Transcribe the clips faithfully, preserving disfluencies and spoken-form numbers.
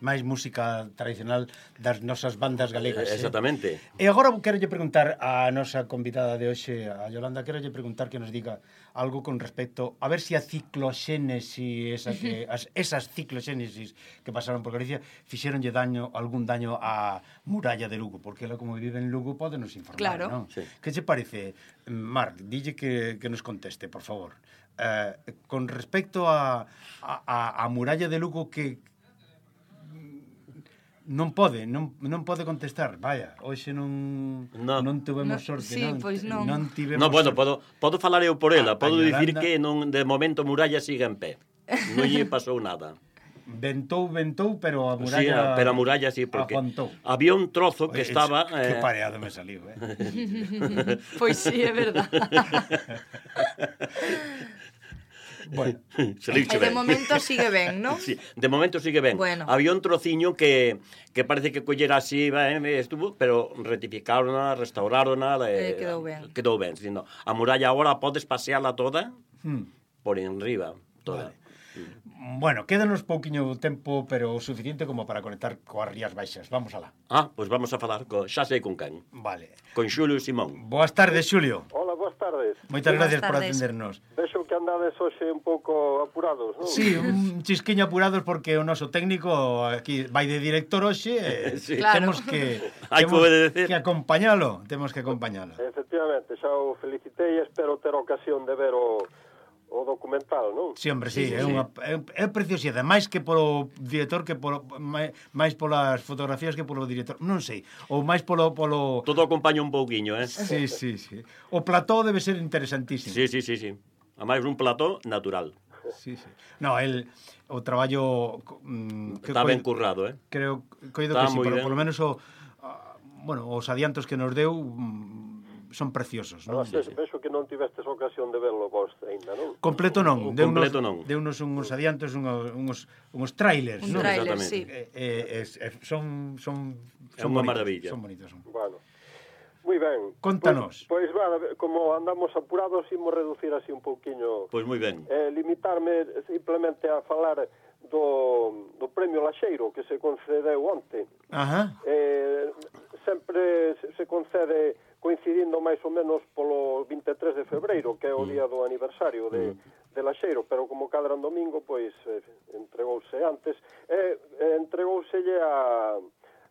máis música tradicional das nosas bandas galegas. Exactamente. Eh? E agora quero lle preguntar a nosa convidada de hoxe, a Yolanda, quero lle preguntar que nos diga algo con respecto a ver se si a cicloxénesis, esa que, as, esas cicloxénesis que pasaron por Galicia fixeronlle daño, algún daño á muralla de Lugo, porque ela como vive en Lugo pode nos informar, claro. non? Sí. Que che parece, Mar, dille que, que nos conteste, por favor. Eh, con respecto a, a, a muralla de Lugo que non pode, non, non pode contestar. Vaya, hoxe non no. non tivemos No, sorte, sí, non? pois non. Non tivemos No, bueno, sorte. podo, podo falar eu por ela. A- Podo a dicir Yolanda- que non, de momento Muralla sigue en pé. Non lle pasou nada. Ventou, ventou, pero a Sí, muralla... pero a muralla sí, porque aguantou. había un trozo que Oye, estaba... Que eh, pareado me saliu, eh? Pois sí, é verdad. Bueno, se le E dixe de ben. momento sigue ben, non? Sí, de momento sigue ben. Bueno. Había un trociño que, que parece que collera así, ben, estuvo, pero rectificaronla, restaurárona, Eh, quedou ben. Quedou ben, dicindo, a muralla agora podes paseala toda hmm. por enriba, toda. Vale. Bueno, quédanos pouquiño tempo, pero o suficiente como para conectar coas Rías Baixas. Vamos alá. Ah, pois vamos a falar, co, xa sei con quen. Vale. Con Xulio Simón. Boas tardes, Xulio. Hola, boas tardes. Moitas Boas gracias por tardes. atendernos. Vexo que andades hoxe un pouco apurados, non? Sí, un chisquiño apurados porque o noso técnico aquí vai de director hoxe e Sí. Claro. temos que Hai que temos obedecer. que acompañalo, temos que acompañalo. Efectivamente, xa o felicitei e espero ter ocasión de ver o, o documental, non? Sí, hombre, sí, Sí, é sí, sí. unha é, é preciosidade, máis que polo director que polo máis, máis polas fotografías que polo director, non sei, ou máis polo polo Todo acompaña un pouquiño, eh? Sí, sí, sí. O plató debe ser interesantísimo. Sí, sí, sí, sí. A máis un plató natural. Sí, sí. No, el o traballo mm, que Está ben coi- currado, eh? creo coido Está que sí, moi pero ben. polo menos o ah, bueno, os adiantos que nos deu mm, son preciosos, non? Además, vexo, vexo que non tivestes ocasión de verlo vos ainda, non? Completo non, O deu unos, completo non. deu unos unhos adiantos, unhos, unhos, unhos trailers, Un non? tráiler, Exactamente. sí. Eh, eh, es, eh, son son É son unha bonitos, maravilla. Son bonitos. Son. Bueno. Moi ben. Contanos. Pois, pois va, como andamos apurados, imos reducir así un pouquiño, Pois moi ben. eh, limitarme simplemente a falar do, do premio Laxeiro que se concedeu onte. Ajá. Eh, sempre se- se concede coincidindo máis ou menos polo vinte e tres de febreiro, que é o día do aniversario de, de Laxeiro, pero como cadran domingo, pois eh, entregouse antes, e eh, entregouselle a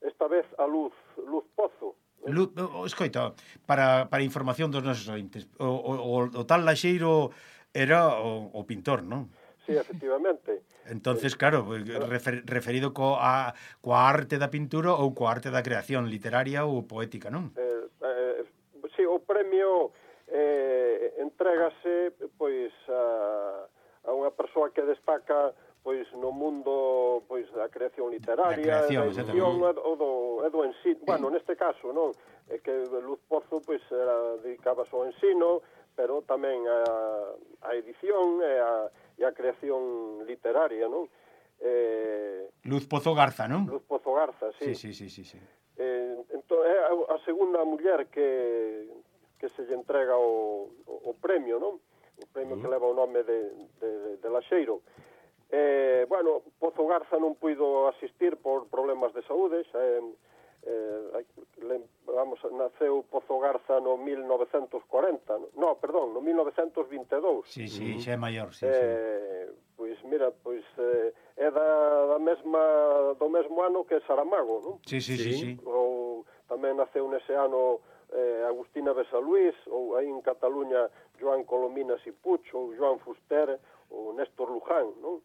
esta vez a Luz, Luz Pozo. Lu, o, escoita, para, para información dos nosos ointes, o, o, o tal Laxeiro era o, o pintor, non? Sí, efectivamente. Entonces, claro, refer, referido co a, coa arte da pintura ou coa arte da creación literaria ou poética, non? Eh, eh, sí, o premio eh, entrégase pois a, a unha persoa que destaca pois no mundo pois da creación literaria, Da creación, da edición, exactamente. e do, e do ensino. Bueno, neste caso, non, é que Luz Pozo pois era dedicaba ao ensino, pero tamén a, a edición e a, e a creación literaria, non? Eh, Luz Pozo Garza, non? Luz Pozo Garza, Sí, sí. sí, sí, sí, sí. Eh, entón, é a, a segunda muller que, que se lle entrega o, o, o premio, non? O premio uh -huh. que leva o nome de, de, de Laxeiro. Eh, bueno, Pozo Garza non puido asistir por problemas de saúde, xa, eh, eh, le, vamos, naceu Pozo Garza no mil novecentos corenta, no, no perdón, no mil novecentos vinte e dous. Sí, sí, xa é maior, sí, sí. Eh, pois mira, pois eh, é da, da mesma do mesmo ano que Saramago, non? Sí, sí, sí, sí. Ou tamén naceu nese ano eh, Agustina Besaluís, ou aí en Cataluña Joan Colominas y Puig, ou Joan Fuster, ou Néstor Luján, non?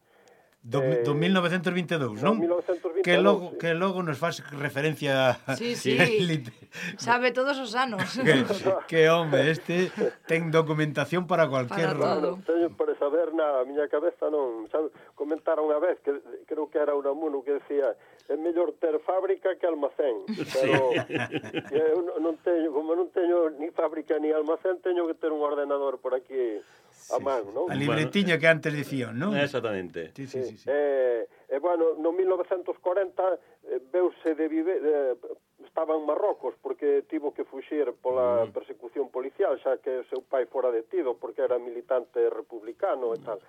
Do, Eh, do mil novecentos vinte e dous, non? mil novecentos vinte e dous, Que logo, sí. que logo nos faz referencia Sí, sí. Lit- Sabe todos os anos. que, que home, este ten documentación para cualquier Para todo. Non teño para saber nada, a miña cabeza non, xa comentaron unha vez que creo que era Unamuno que decía é mellor ter fábrica que almacén, pero eu non- non teño, como non teño ni fábrica ni almacén, teño que ter un ordenador por aquí a man, non? a libretiña que antes dicían, non? Exactamente. Sí, sí, sí, sí. Eh, e, bueno, no mil novecentos corenta eh, veuse de viver, eh, estaba en Marrocos porque tivo que fuxir pola Mm. persecución policial, xa que o seu pai fora detido porque era militante republicano e tal.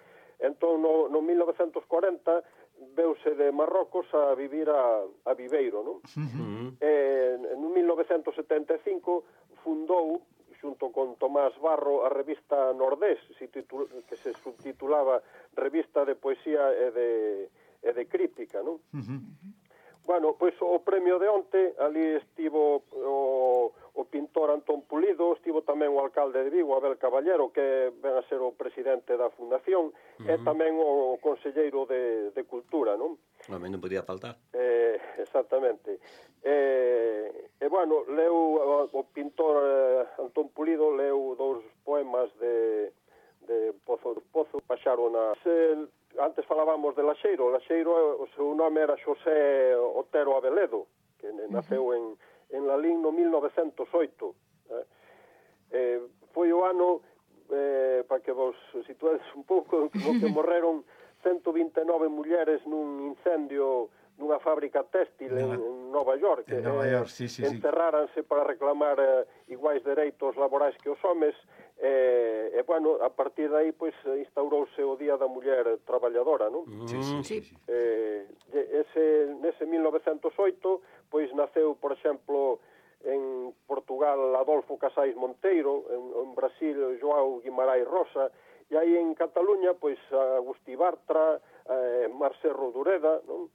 Entón, no, no mil novecentos corenta veuse de Marrocos a vivir a, a Viveiro, non? Uh-huh. Eh, en mil novecentos setenta e cinco fundou, xunto con Tomás Barro, a revista Nordés, que se subtitulaba Revista de Poesía e de, e de Crítica, non? Uh-huh. Bueno, pois o premio de onte, ali estivo o, o pintor Antón Pulido, estivo tamén o alcalde de Vigo, Abel Caballero, que ven a ser o presidente da fundación, uh-huh. e tamén o conselleiro de, de Cultura, non? Non, non podía faltar. Eh, exactamente. Eh, e, bueno, leu o pintor eh, Antón Pulido leu dous poemas de, de Pozo do Pozo, paxaron a... Se, antes falábamos de Laxeiro. Laxeiro, o seu nome era Xosé Otero Abeledo, que naceu uh-huh. en, en Lalín no mil novecentos oito. Eh, eh, foi o ano, eh, para que vos situades un pouco, no que morreron ciento vinte e nove mulleres nun incendio nunha fábrica téxtil en, en Nova York. En Nova York, sí, sí, encerráranse sí. para reclamar eh, iguais dereitos laborais que os homes. E, eh, bueno, a partir de aí, pois, instaurouse o Día da Muller Traballadora, non? Sí, sí, sí. sí. Eh, ese, nese mil novecentos oito, pois, naceu, por exemplo, en Portugal, Adolfo Casais Monteiro, en, en Brasil, Joao Guimarães Rosa, e aí en Cataluña, pois, Agustí Bartra, eh, Marcelo Dureda, non?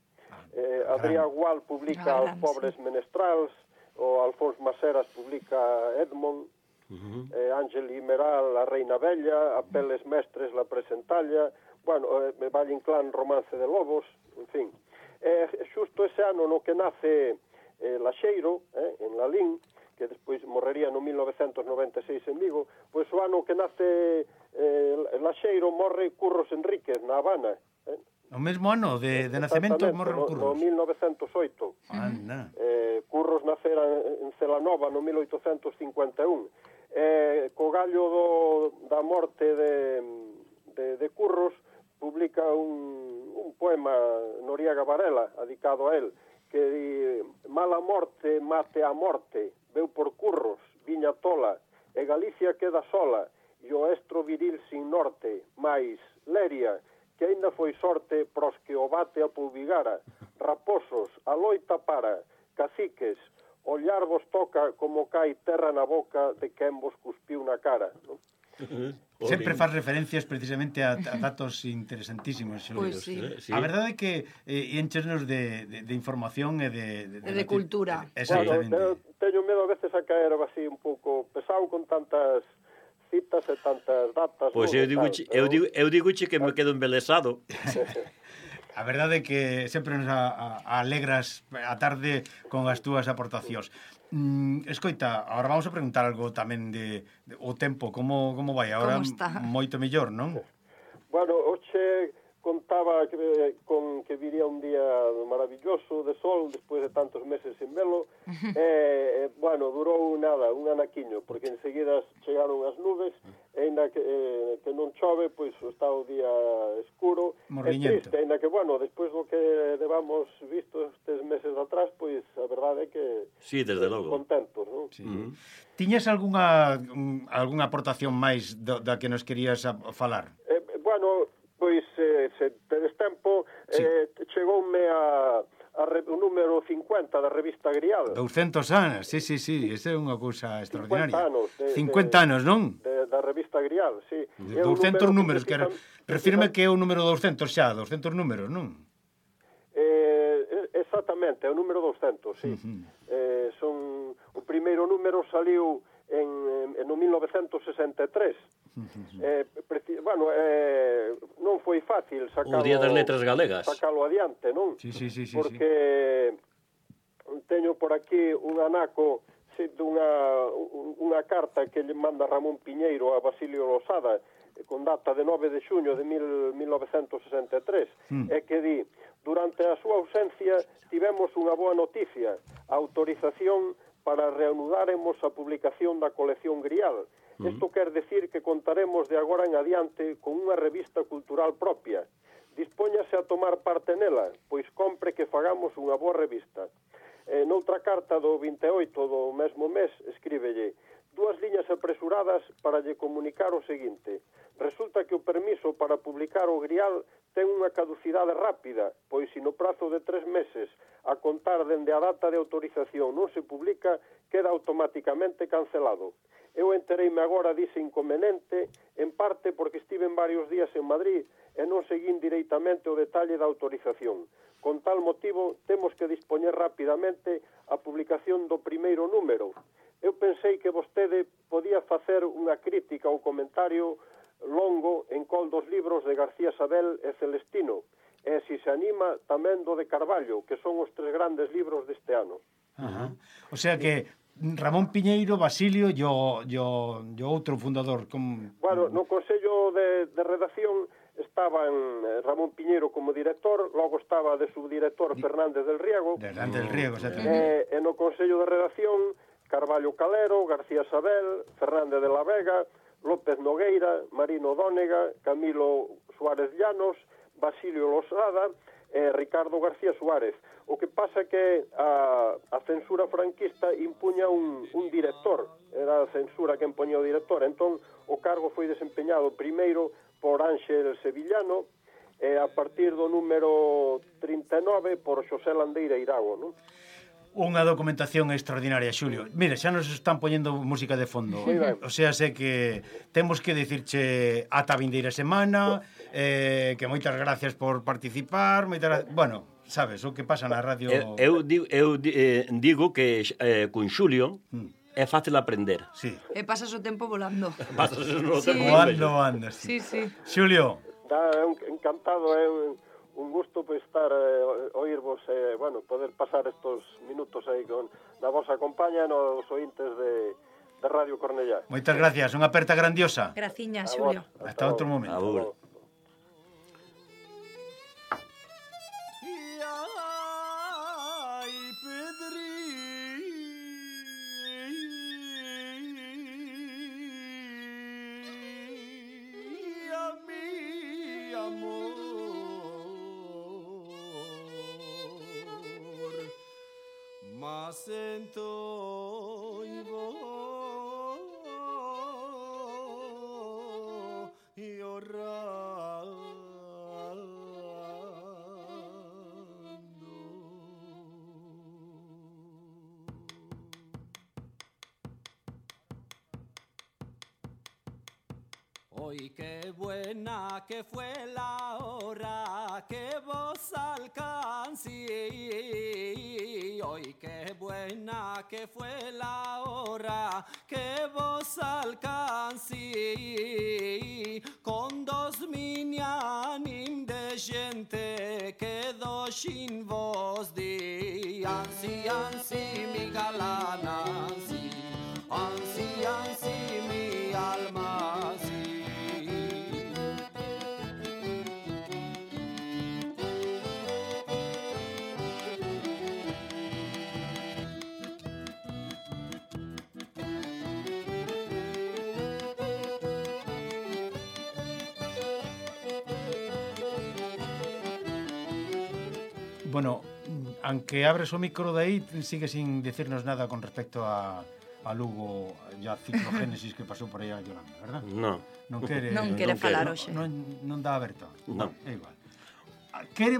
Eh, Adrià Gual publica Os Pobres Menestrals, o Alfons Maseras publica Edmond, uh-huh. eh, Ángel Imeral, A Reina Bella, A Peles Mestres, La Presentalla, bueno, eh, Valle Inclán, Romance de Lobos, en fin. Eh, xusto ese ano no que nace eh, Laxeiro, eh, en Lalín, que despois morrería no mil novecentos noventa e seis en Vigo, pois o ano que nace eh, Laxeiro morre Curros Enríquez, na Habana, eh? O mesmo ano de, de nacemento morreu no, Curros. no mil novecentos oito. Anda. Eh, Curros nacera en Celanova no mil oitocentos cincuenta e un. Eh, co gallo do, da morte de, de, de Curros publica un, un poema Noriega Varela, dedicado a él, que di: mala morte mate a morte, veu por Curros, viña tola, e Galicia queda sola, e o estro viril sin norte, mais Leria, que aínda foi sorte pros que o bate a Poubigara, raposos, a loita para, caciques, ollar vos toca como cai terra na boca de quen vos cuspiu na cara, non? Sempre faz referencias precisamente a, a datos interesantísimos. Pois sí. Sí. A verdade é que eh, enchenos de, de, de información e de... De, de, de cultura. Exactamente. Bueno, teño medo a veces a caer así un pouco pesado con tantas citas e tantas datas. Pois eu digo, pero... eu digo, eu digo que me quedo embelesado. A verdade é que sempre nos a, a, alegras a tarde con as túas aportacións. Mm, escoita, agora vamos a preguntar algo tamén de, de o tempo, como, como vai? Agora moito mellor, non? Bueno, hoxe contaba que, con que viría un día maravilloso de sol despois de tantos meses sin velo. E, eh, bueno, durou nada, un anaquiño, porque enseguida chegaron as nubes, e ainda que, eh, que non chove, pois está o día escuro e triste, ainda que, bueno, despois do que levamos visto estes meses atrás, pois a verdade é que sí, desde logo. Contentos, non? Sí. Uh-huh. Tiñas algunha algunha aportación máis do, da que nos querías a, a falar? Eh, bueno, pois eh, se tedes tempo, sí. eh, chegoume a, a re, o número cincuenta da revista Grial. douscentos anos, sí, sí, sí, esa é unha cousa extraordinaria. cincuenta anos. De, cincuenta anos, non? De, da revista Grial, sí. De douscentos números, que, que refírme que é o número douscentos xa, douscentos números, non? Eh, exactamente, é o número douscentos, sí. Uh-huh. Eh, son, o primeiro número saliu en, en, en mil novecentos sesenta e tres. Eh, preci, bueno, eh, non foi fácil sacalo, o Día das Letras Galegas, sacalo adiante, non? Sí, sí, sí, sí, porque sí. Teño por aquí un anaco sí, dunha unha carta que lle manda Ramón Piñeiro a Basilio Losada con data de nove de xuño de mil novecentos sesenta e tres, mm. e que di: durante a súa ausencia tivemos unha boa noticia, a autorización para reanudaremos a publicación da colección Grial. Isto quer decir que contaremos de agora en adiante con unha revista cultural propia. Dispóñase a tomar parte nela, pois compre que fagamos unha boa revista. Eh, noutra carta do vinte e oito do mesmo mes, escríbelle: dúas liñas apresuradas para lle comunicar o seguinte. Resulta que o permiso para publicar o Grial ten unha caducidade rápida, pois se no prazo de tres meses a contar dende a data de autorización non se publica, queda automáticamente cancelado. Eu entereime agora dise inconveniente, en parte porque estive en varios días en Madrid e non seguín directamente o detalle da autorización. Con tal motivo, temos que dispoñer rapidamente a publicación do primeiro número. Eu pensei que vostede podía facer unha crítica ou comentario longo en col dos libros de García Sabel e Celestino, e se se anima tamén do de Carballo, que son os tres grandes libros deste ano. Ajá. O sea que Ramón Piñeiro, Basilio e o, e o, e o outro fundador. Com... Bueno, no Consello de, de Redacción estaban Ramón Piñeiro como director, logo estaba de subdirector Fernández del Riego. Fernández del Riego, E, exactamente. e no Consello de Redacción, Carballo Calero, García Sabel, Fernández de la Vega, López Nogueira, Marino Dónega, Camilo Suárez Llanos, Basilio Losada e Ricardo García Suárez. O que pasa que a, a censura franquista impuña un, un director, era a censura que impoña o director, entón o cargo foi desempeñado primeiro por Ángel Sevillano e a partir do número trinta e nove por Xosé Landeira Irago, non? Unha documentación extraordinaria, Xulio. Mira, xa nos están poñendo música de fondo. O sea, sé que temos que dicirche ata a vindeira semana, eh, que moitas gracias por participar, moitas gracias... Bueno, sabes, o que pasa na radio... Eu, eu, digo, eu eh, digo que eh, con Xulio é fácil aprender. Sí. E pasas o tempo volando. Pasas o Sí. tempo Voando, voando, sí. Sí, sí. Xulio, Da, é un, encantado, é un, un gusto pois estar eh, oírvos e, eh, bueno, poder pasar estos minutos aí con na vosa compañía nos ointes de, de Radio Cornellá. moitas gracias. Unha aperta grandiosa. Graciña, A Xulio. vos, Hasta outro logo. momento. Abur. Ai, Pedrinha, mi amor, mas sento hoy qué buena que fue la hora que vos alcancé. Hoy qué buena que fue la hora que vos alcancé. Con dos mini anim de gente quedó sin voz de ansi, ansi, mi galana, ansi, ansi, ansi, mi alma, ansi. Bueno, aunque abres o micro de aí, sigue sin decirnos nada con respecto a, a Lugo e a ciclogénesis que pasou por aí a Yolanda, verdad? No. Non quere, Non quere non falar quere. hoxe. Non, non dá aberto. Non. É igual. Ah, Quere...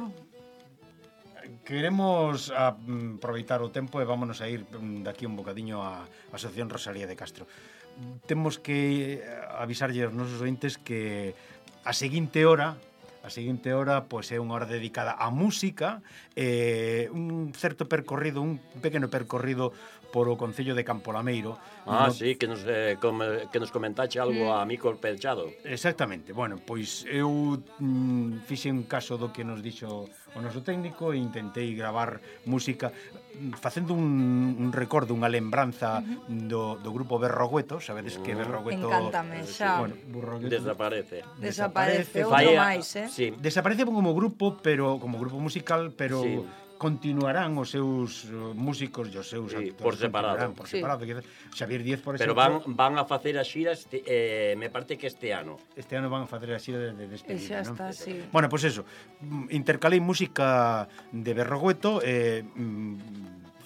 Queremos a, mm, aproveitar o tempo e vámonos a ir mm, daqui un bocadiño á Asociación Rosalía de Castro. Temos que eh, avisarlle aos nosos ointes que a seguinte hora a seguinte hora pois é unha hora dedicada á música, eh, un certo percorrido, un pequeno percorrido por o Concello de Campolameiro. Ah, no... sí, que nos, eh, com, que nos comentache algo a Mico Pechado. Exactamente. Bueno, pois eu mm, fixe un caso do que nos dixo o noso técnico e intentei gravar música facendo un, un recordo, unha lembranza uh-huh. do, do grupo Berrogueto. Sabedes que Berrogueto... Encántame, xa. Bueno, Berrogueto... Desaparece. Desaparece, outro Falla- máis, eh? Sí. Desaparece como grupo, pero como grupo musical, pero Sí. continuarán os seus uh, músicos e os seus Sí, actores por separado. continuarán por Sí. separado. Xavier Díez, por Pero exemplo, van, van a facer a xira este, eh, me parte que este ano. este ano van a facer a xira de, de despedida, E xa non? está, sí. Bueno, pois pues eso, mm, intercalei música de Berrogueto e mm,